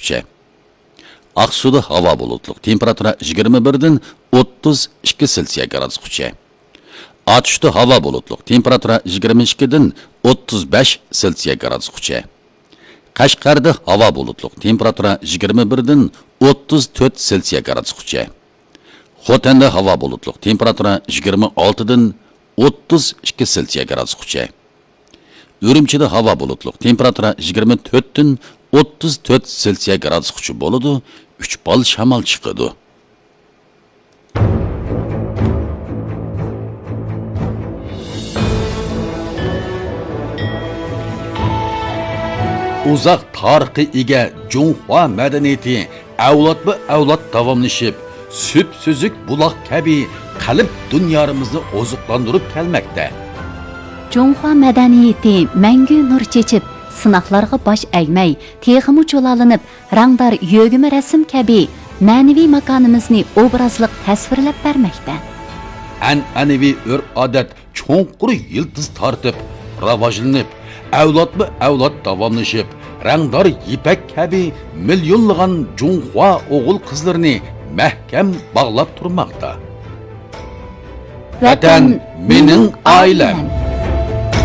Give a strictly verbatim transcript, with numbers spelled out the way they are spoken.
گرادۇسقىچە. ئاقسۇدا ھاۋا بۇلۇتلۇق، تېمپېراتۇرا يىگىرمە بىردىن ئوتتۇز ئىككى سېلسىيە گرادۇسقىچە. ئاتۇشتا ھاۋا بۇلۇتلۇق، تېمپېراتۇرا يىگىرمە ئىككىدىن ئوتتۇز بەش سېلسىيە گرادۇسقىچە. قەشقەردە ھاۋا بۇلۇتلۇق، تېمپېراتۇرا يىگىرمە بىردىن ئوتتۇز تۆت سېلسىيە گرادۇسقىچە. خوتەندە ھاۋا بۇلۇتلۇق، تېمپېراتۇرا يىگىرمە ئالتىدىن ئوتتۇز ئىككى سېلسىيە گرادۇسقىچە. ئۈرۈمچىدە ھاۋا بۇلۇتلۇق، تېمپېراتۇرا يىگىرمە تۆتتىن ئوتتۇز تۆت سېلسىيە گرادۇسقىچە بولىدۇ، ئۈچ بال شامال چىقىدۇ. ئۇزاق تارىخقا ئىگە جۇڭخۇا مەدەنىيىتى ئەۋلادمۇ ئەۋلاد داۋاملىشىپ، سۈپسۈزۈك بۇلاق كەبى قەلب دۇنيالىرىمىزنى ئوزۇقلاندۇرۇپ كەلمەكتە. جۇڭخۇا مەدەنىيىتى مەڭگۈ نۇر چېچىپ، سىناقلارغا باش ئەگمەي، تېخىمۇ جۇلالىنىپ، رەڭدار يۆگىمە رەسىم كەبى مەنىۋى ماكانىمىزنى ئوبرازلىق تەسۋىرلەپ بەرمەكتە. ئەنئەنىۋى ئۆرپ-ئادەت چوڭقۇر يىلتىز تارتىپ، راۋاجلىنىپ، ئەۋلادمۇ ئەۋلاد داۋاملىشىپ، رەڭدار يىپەك كەبى مىليونلىغان جۇڭخۇا ئوغۇل-قىزلىرىنى مەھكەم باغلاپ تۇرماقتا. ۋەتەن، مېنىڭ ئائىلەم.